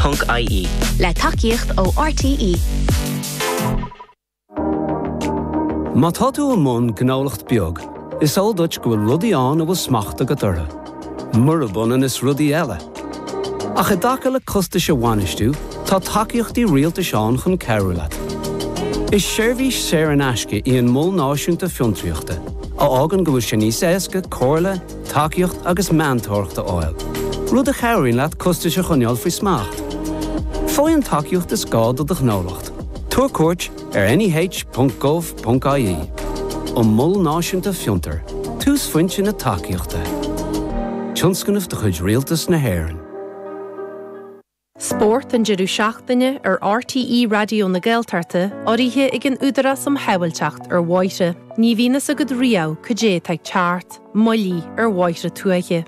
Ponc IE. Le tacaíocht ó RTÉ. Má tá tú i mbun gnólacht beag, is eol duit go bhfuil rudaí ann a bhfuil smacht agat orthu, murab ionann is rudaí eile. Ach i dtaca le costais a bhainistiú, tá tacaíochtaí rialtais ann chun cabhrú leat. Is seirbhís saor in aisce í an Mol Náisiúnta Fiontraíochta, a fhágann go bhfuil sé níos éasca comhairle, tacaíocht agus meantóireacht a fháil, rud a chabhraíonn leat costais a choinneáil faoi smacht. Faigh an tacaíocht is gá do do ghnólacht. Tabhair cuairt ar neh.gov.ie. An Mol Náisiúnta Fiontar, túsphointe na tacaíochta. Tionscnamh de chuid Rialtas na hÉireann. Spórt an deireadh seachtaine ar RTÉ Raidió na Gaeltachta urraithe ag an Údarás um Shábháilteacht ar Bhóithre. Ní bhíonn fhios agat riamh cad é atá ag teacht, moillí ar bhóithre tuaithe.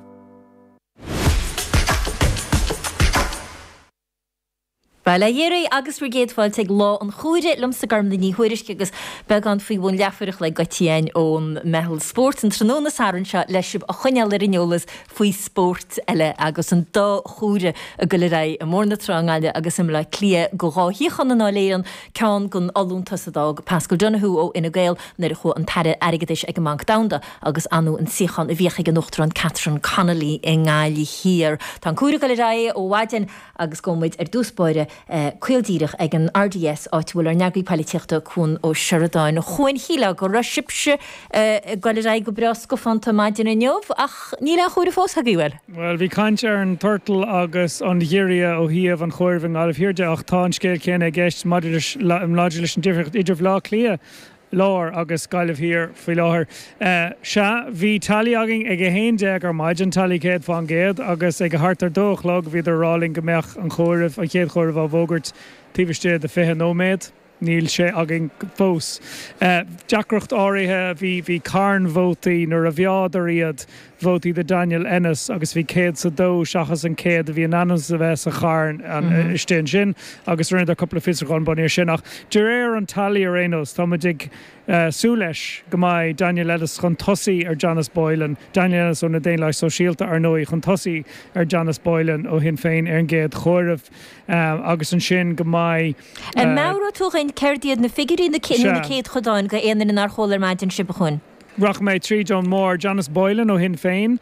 Bail ó Dhia oraibh agus bhur gcéad fáilte ag Lá an Chomhairimh liomsa Gormlaith Ní Thuairisg agus beagán faoi bhun leathuair a chloig go dtí againn ón Meitheal Spóirt an tráthnóna Sathairn seo le sibh a choinneáil ar an eolas faoi spórt eile agus an dá chomhaireamh ag goil ar aghaidh i mBóthar na Trá i nGaillimh agus i mBleá Cliath go dhá shuíochán i nDáil Éireann, ceann den fholúntas a d'fhág Paschal Donohoe ó Fhine Gael nuair a chuaigh an tAire Airgeadais ag an mBanc Domhanda agus ar ndóigh an suíochán a bhíodh ag an Uachtarán Catherine Connolly i nGaillimh Thiar. Tá an comhaireamh ag goil ar aghaidh ó mhaidin. Agus gabhfaidh muid ar dtús báire caol díreach ag an RDS áit a bhfuil ár n-eagraí poilitíochta Cuan Ó Seireadáin. A Chuain, shílfeá go raibh sibhse ag goil ar aghaidh go breá scafánta maidin inniu ach níl aon chomhaireamh fós agaibh, bhfuil? Bhuel, bhí caint ar an turtal agus an ghiorria ó thaobh an chomhairimh i nGaillimh Thiar de ach tá an scéal céanna i gceist maidir leis an difríocht idir Bhaile Átha Cliath Láir agus Gaillimh Thiar faoi láthair. Sea, bhí tally againn ag 11 ar maidin, tally 100%, agus ag thart ar dó a chlog bhíodar a rá linn go mbeadh an chomhaireamh, an chéad chomhaireamh á bhfógairt taobh istigh de 20 nóiméad. Níl sé againn fós. Deacracht áirithe, bhí, bhí carn vótaí nuair a mheádar iad, vótaí do Daniel Ennis agus bhí céad 's a dó seachas an 100 a bhí in ainm is a bheith sa charn istigh ansin agus rinneadar cúpla fiosrúchán bunaithe air sin. Ach de réir an tally ar aon nós, tá muid ag súil leis go mbeidh Daniel Ennis chun tosaigh ar Janice Boylan, Daniel Ennis ó na Daonlathaigh Sóisialta ar ndóigh, chun tosaigh ar Janice Boylan ó Shinn Féin ar an gcéad chomhaireamh agus ansin go mbeidh. An meabhróidh tú dhúinn céard iad na figiúirí nó na céadchodáin go aon duine nár chuala ar maidin sibh, a Chuain? Rachaidh mé tríd ón mbarr. Janice Boylan ó Shinn Féin,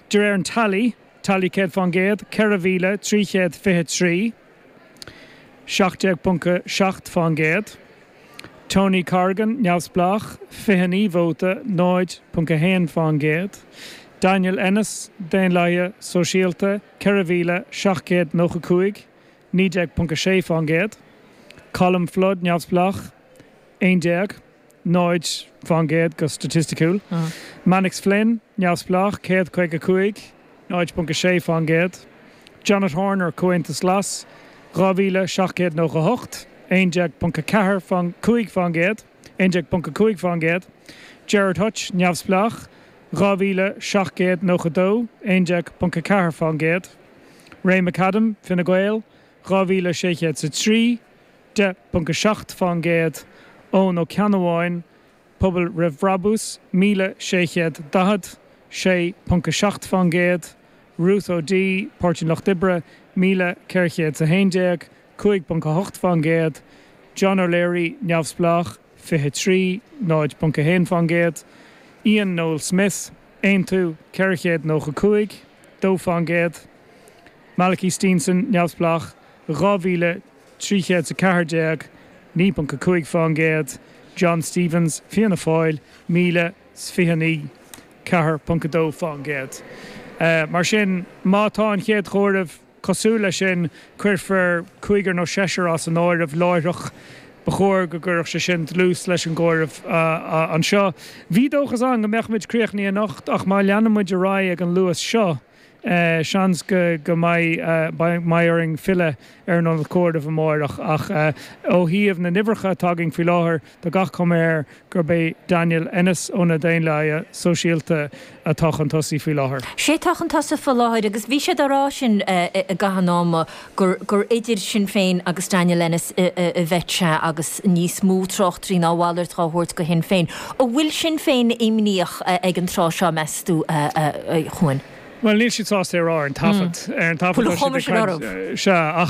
de réir an tally, tally 100%, 4,323, 17.7%. Tony Corrigan, Neamhspleách, 29 vóta, 0.1%. Daniel Ennis, Daonlathaithe Sóisialta, 4,795, 19.6%. Colm Flood, Neamhspleách, 11. 0% go staitisticiúil. Mannix Flynn, Neamhspleách, 155, 0.6%. Janet Horner, Comhaontas Glas, 2,798, 11.4, 5%, 11.5%. Gerard Hutch, Neamhspleách, 2,792, 11.4%. Ray McAdam, Fine Gael, 2,603, 10.7%, Eoin Ó Ceannabháin, Pobal Roimh Bhrabús, 1,640, 6.7%, Ruth O'Dea, Páirtí an Lucht Oibre, 1,411, 5.8%, John O'Leary, Neamhspleách, 23, 0.1%, Ian Noel Smith, Aontú, 495, 2%, Malachy Steenson, Neamhspleách, 2,314, 9.5%, John Stephens, Fianna Fáil, 1,029, 4.2%. Mar sin, má tá an chéad chomhaireamh cosúil leis sin, cuirfear cúigear nó seisear as an áireamh láithreach. Ba chóir go gcuirfeadh sé sin dlús leis an gcomhaireamh anseo. Bhí dóchas ann go mbeadh muid críochnaithe anocht ach má leanann muid ar aghaidh ag an luas seo, Seans go mbeidh orainn filleadh ar an ionad comhairimh amáireach ach ó thaobh na n-uimhreacha atá againn faoi láthair, tá gach cuma air gurb é Daniel Ennis ó na Daonlathaithe Sóisialta atá chun tosaigh faoi láthair. Sé atá chun tosaigh faoi láthair agus bhí siad á rá sin i gcaitheamh an ama gur gur idir Sinn Féin agus Daniel Ennis a bheadh sé agus níos mó tráchtairí ná a mhalairt dhá thabhairt go Shinn Féin. An bhfuil Sinn Féin imníoch ag an tráth seo, meas tú, a Chuain? Bhuel, níl siad sásta é a rá ar an taifead. Ar an taifead tá siad ag caint. Sea, ach.